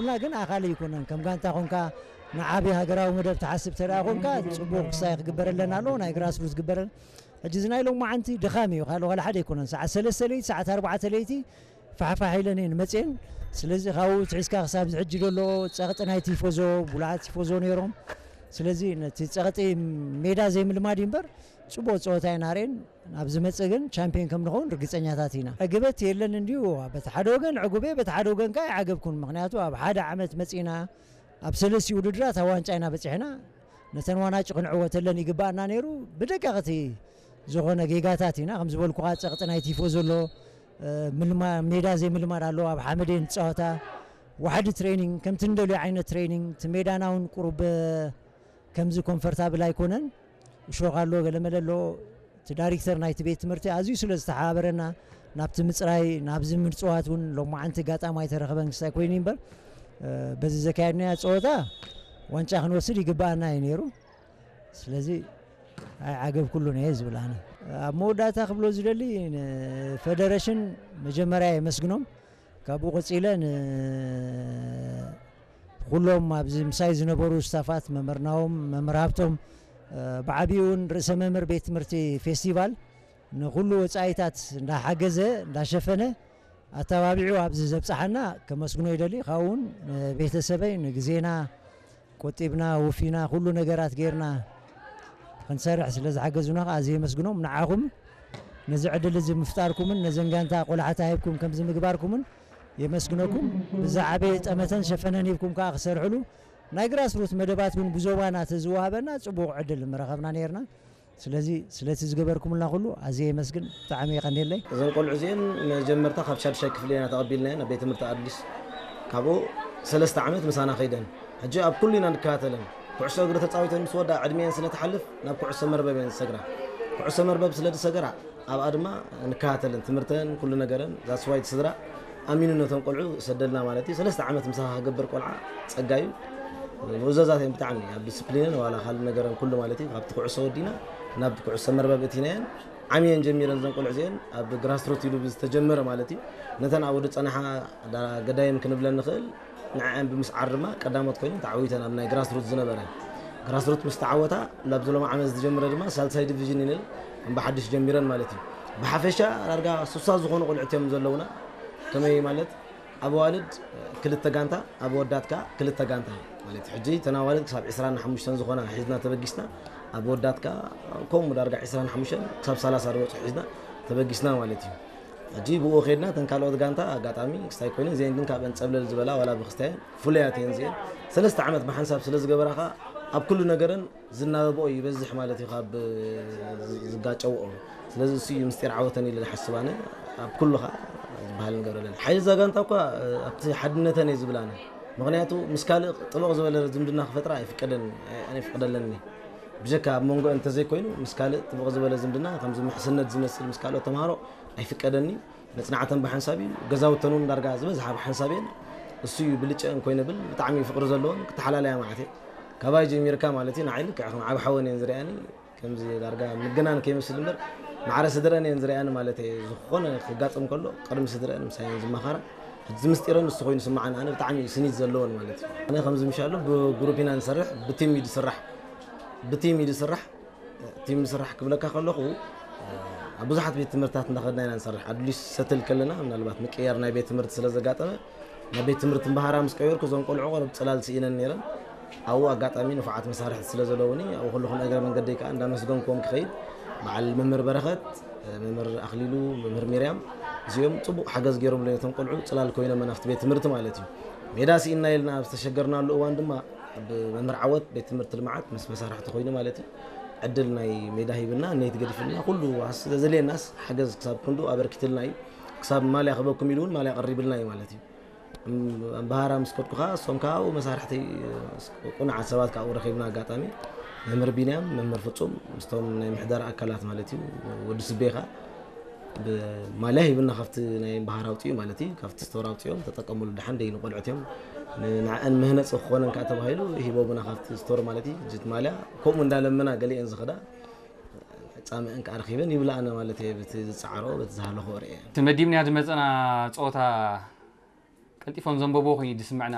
እና ግን ኣኻሊ ኣይኮነን። ከም ጋንታ ኮንካ ንዓቢ ሃገራዊ መደብ ትሓስብ ተደኣ ኮንካ ጽቡቕ ክሳይ ክግበረለን ኣለዎ፣ ናይ ግራስሩት ዝግበረን። ሕጂ እዚ ናይ ሎማዓንቲ ድኻም እዩ፣ ካልእ ዋላ ሓደ ኣይኮነን። ሰዓት ሰለስተ ለይቲ፣ ሰዓት ኣርባዕተ ለይቲ ፋሕፋሕ ኢለን እየን መፅየን። ስለዚ ካብኡ ትሒዝካ ክሳብ እዚ ሕጂ ዘሎ ጸቕጢ ናይ ቲፎዞ፣ ቡሉዓት ቲፎዞ ነይሮም። ስለዚ ነቲ ጸቕጢ ሜዳ ዘይምልማድ እዩ እምበር፣ ጽቡቕ ጸወታ ኢና ርኤን። ኣብ ዝመጽእ ግን ቻምፒዮን ከም ንኸውን ርግጸኛታት ኢና። ዕግበት የለን እንድዩ፣ በቲ ሓደ ወገን ዕጉብ እየ፣ በቲ ሓደ ወገን ከኣ ኣይዓገብኩን። ምኽንያቱ ኣብ ሓደ ዓመት መጺእና ኣብ ሰለስቲኡ ውድድራት ኣብ ዋንጫ ኢና በጺሕና። ነተን ዋናጭ ክንዕወተለን ይግባኣና ነይሩ። ብደቀቕቲ ዝኾነ ጌጋታት ኢና፣ ከም ዝበልኩኻ ጸቕጢ ናይ ቲፎ ዘሎ፣ እ፣ ምልማ-፣ ሜዳ ዘይምልማድ ኣሎ። ኣብ ሓመድ እየን ዝጻወታ። ዋሕዲ ትሬኒንግ፣ ከምቲ እንደልዮ ዓይነት ትሬኒንግ፣ እቲ ሜዳና እውን ቁሩብ፣ እ፣ ከምዚ ኮንፈርታብል ኣይኮነን። እሾኽ ኣሎ፣ ገለመለ ኣሎ። እቲ ዳይሬክተር ናይቲ ቤት ትምህርቲ ኣዝዩ ስለ ዝተሓባበረና፣ ናብቲ ምጽራይ፣ ናብዚ ምጽዋት እውን ሎማዓንቲ ኣጋጣሚ ኣይተረኸበን ክስታይ ኮይኑ እምበር፣ እ፣ በዚ ዘካየድናዮ ጸወታ ዋንጫ ክንወስድ ይግባኣና እዩ ነይሩ። ስለዚ ኣይዓገብኩሉን እየ ዝብል ኣነ። ኣብ መወዳእታ ክብሎ ዝደሊ፣ ንፌደሬሽን መጀመርያ የመስግኖም። ካብኡ ቀጺለ ንኩሎም ኣብዚ ምሳይ ዝነበሩ ስታፋት፣ መምህር ናሆም፣ መምህር ሃብቶም፣ እ፣ ብዓቢኡ እውን ርእሰ መምህር ቤት ትምህርቲ ፌስቲቫል ንኩሉ ወጻኢታት እንዳሓገዘ፣ እንዳሸፈነ፣ ኣተባቢዑ ኣብዚ ዘብጽሓና ከመስግኖ ይደሊ። ካብኡ እውን ንቤተሰበይ፣ ንግዜና ቆጢብና፣ ወፊና፣ ኩሉ ነገራት ጌርና ክንሰርሕ ስለ ዝሓገዙና ከኣ ኣዝየ የመስግኖም። ንዓኹም ነዚ ዕድል እዚ ምፍጣርኩምን ነዘን ጋንታ ቆላሕታ ሂብኩም ከምዚ ምግባርኩምን የመስግነኩም። ብዛዕባ ጠመተን ሸፈነን ሂብኩም ከኣ ክሰርሕሉ ናይ ግራስሩት መደባት እውን ብዞባና ተዝወሃበና ጽቡቕ ዕድል ምረኸብና ነይርና። ስለዚ ስለቲ ዝገበርኩምልና ኩሉ ኣዝየ የመስግን። ብጣዕሚ የቐንየለይ። እዘን ቆልዑ እዚአን መጀመርታ ካብ ሻድሻይ ክፍሊ ኢና ተቐቢልናየን ኣብ ቤት ትምህርቲ ኣዲስ። ካብኡ ሰለስተ ዓመት ምሳና ከይደን። ሕጂ ኣብ ኩሉ ኢና ንከታተለን። ኩዕሶ እግሪ ተጻዊተን ምስ ወዳ ዕድሜአን ስለ ትሓልፍ ናብ ኩዕሶ መርበብ እየን ዝሰግራ። ኩዕሶ መርበብ ስለ ዝሰገራ ኣብኣ ድማ ንከታተለን። ትምህርተን ኩሉ ነገረን ዛስዋይ እቲ ስድራ ኣሚኑ ነቶም ቆልዑ ሰደልና ማለት እዩ። ሰለስተ ዓመት ምሳኻ ክገብር ቆልዓ ጸጋ እዩ። ምእዘዛት እየን ብጣዕሚ ኣብ ዲስፕሊንን ዋላ ካልእ ነገረን ኩሉ ማለት እዩ። ካብቲ ኩዕሶ ወዲና ናብ ኩዕሶ መርበብ እቲናየን ዓምየን ጀሚረን እዘን ቆልዑ እዚአን ኣብ ግራስሩት ኢሉ ብዝተጀመረ ማለት እዩ። ነተን ኣብኡ ዝጸንሓ ዳ-፣ ገዳይም ክንብለን ንኽእል ንዐን ብምስዓር ድማ ቀዳሞት ኮይነን ተዓዊተን ኣብ ናይ ግራስሩት ዝነበረ። ግራስሩት ምስ ተዓወታ ናብዚ ሎሚ ዓመት ዝጀምረ ድማ ሳልሳይ ዲቪዥን ኢለን ከም ብሓድሽ ጀሚረን ማለት እዩ። ብሓፈሻ ዳርጋ ሱሳ ዝኾኑ ቆልዑት እዮም ዘለውና። ከመይ ማለት ኣብ ኣዋልድ ክልተ ጋንታ፣ ኣብ ኣወዳት ከኣ ክልተ ጋንታ ማለት እዩ። ሕጂ እተን ኣዋልድ ክሳብ ዕስራን ሓሙሽተን ዝኾና ሒዝና ተበጊስና፣ ኣብ ኣወዳት ከኣ ከምኡ ዳርጋ ዕስራን ሓሙሽተን ክሳብ ሰላሳ ዝበጽሑ ሒዝና ተበጊስና ማለት እዩ። ሕጂ ብኡ ከይድና እተን ካልኦት ጋንታ ኣጋጣሚ ክስታይ ኮይነን እዚአን ግን ካብአን ጸብለል ዝበላ ዋላ ብክስታየን ፍሉያት እየን እዚአን። ሰለስተ ዓመት ብሓንሳብ ስለ ዝገበራ ከኣ ኣብ ኩሉ ነገረን ዝናበብኦ ይበዝሕ ማለት እዩ ካብ ዝጋጨውኦ። ስለዚ እሱ እዩ ምስጢር ዓወተን ኢለ ዝሓስብ ኣነ። ኣብ ኩሉ ከኣ ዝበሃል ንገብረለን። ሓይሊ እዛ ጋንታ እኳ ኣብቲ ሓድነተን እየ ዝብል ኣነ። ምኽንያቱ ምስ ካልእ ጥብቕ ዝበለ ዝምድና ክፈጥራ ኣይፍቀደን፣ ኣይፍቀደለንን። ብጀካ ኣብ መንጎ እንተዘይኮይኑ ምስ ካልእ ጥብቕ ዝበለ ዝምድና ከምዚ ምሕስነት ዝመስል ምስ ካልኦት ተምሃሮ ኣይፍቀደኒ። መጽናዕተን ብሓንሳብ እዩ፣ ገዛውተን እውን ዳርጋ ዝበዝሓ ብሓንሳብ እየን። እሱ እዩ ብልጨአን ኮይነ ብል ብጣዕሚ ፍቕሪ ዘለዎን ክተሓላለያ ማለት እየ። ካባይ ጀሚርካ ማለት እዩ ንዓይ ልክዕ ከም ዓብ ሓወን እየን ዝሪኣኒ። ከምዚ ዳርጋ ምግናን ከይመስል እምበር ማዕረ ስድረን እየን ዝሪኣኒ ማለት እየ። ዝኾነ ክጋጥም ከሎ ቅድሚ ስድረን ምሳየን ዝመኻራ። እዚ ምስጢረን ንሱ ኮይኑ ስምዓኒ ኣነ ብጣዕሚ እዩ ስኒት ዘለዎን ማለት እዩ። ኣነ ከምዚ ምሻሎ ብግሩፕ ኢና ንሰርሕ፣ ብቲም እዩ ዝስራሕ። ብቲም እዩ ዝስራሕ። ቲም ምስራሕ ክብለካ ከለኹ ኣብ ብዙሓት ቤት ትምህርትታት እንዳኸድና ኢና ንሰርሕ። ኣድሊስ ሰትል ከለና ምናልባት ምቅያር ናይ ቤት ትምህርቲ ስለ ዘጋጠመ ናብ ቤት ትምህርቲ እምበሃራ ምስ ቀየርኩ እዞም ቆልዑ ቆረብ ጽላል ስኢነን ነይረን። ኣብኡ ኣጋጣሚ ንፉዓት መሳርሕቲ ስለ ዘለውኒ ኣብኡ ከለኹ ንእግረ መንገደይ ከኣ እንዳመስገንክዎም ክኸይድ በዓል መምህር በረኸት፣ መምህር ኣኽሊሉ፣ መምህር ሚርያም እዚኦም ጽቡቕ ሓገዝ ገይሮምለይ ነቶም ቆልዑ ጽላል ኮይኖም ናብቲ ቤት ትምህርቲ ማለት እዩ። ሜዳ ስኢንና ኢልና ኣብ ዝተሸገርናሉ እዋን ድማ ብመምህር ዓወት ቤት ትምህርቲ ልምዓት ምስ መሳርሕቲ ኮይኑ ማለት እዩ። ዕድል ናይ ሜዳ ሂብና፣ ኔት ገዲፍልና፣ ኩሉ ኣስ-፣ ዘድልየናስ ሓገዝ ክሳብ ክንዱ ኣበርኪትልና እዩ። ክሳብ ማልያ ክበኩም ኢሉ እውን ማልያ ቀሪብልና እዩ ማለት እዩ። እም-፣ ኣምባሃራ ምስ ከድኩ ከኣ እሶም ከኣ ኣብኡ መሳርሕቲ፣ እ፣ ቁኑዓት ሰባት ከኣ ኣብኡ ረኺብና ኣጋጣሚ። መምህር ቢንያም፣ መምህር ፍጹም፣ ምስቶም ናይ ምሕደራ ኣካላት ማለት እዩ። ወዲ ስቤ ከኣ ብማልያ ሂብና ካብቲ ናይ እምባሃራ ኣውጺኡ ማለት እዩ። ካብቲ ስቶር ኣውጺኦም ተጠቀምሉ ደሓን ደይ ንቆልዑት እዮም። ን-፣ ንዕአን መህነጺ ክኾነን ከኣ ተባሂሉ ሂቦምና ካብቲ ስቶር ማለት እዩ። ጅት ማልያ ከምኡ እንዳለመና ገሊአን ዝኸዳ ጻምእን ከኣ ረኺበን ይብላዕና ማለት እየ። በቲ ዝጸዓሮ፣ በቲ ዝሃለኾ ርእየ። እቲ መዲብናያ ዝመጸና ጸወታ ቀልጢፎም ዘንበብዎ ኮይኑ እዩ ዝስምዐና።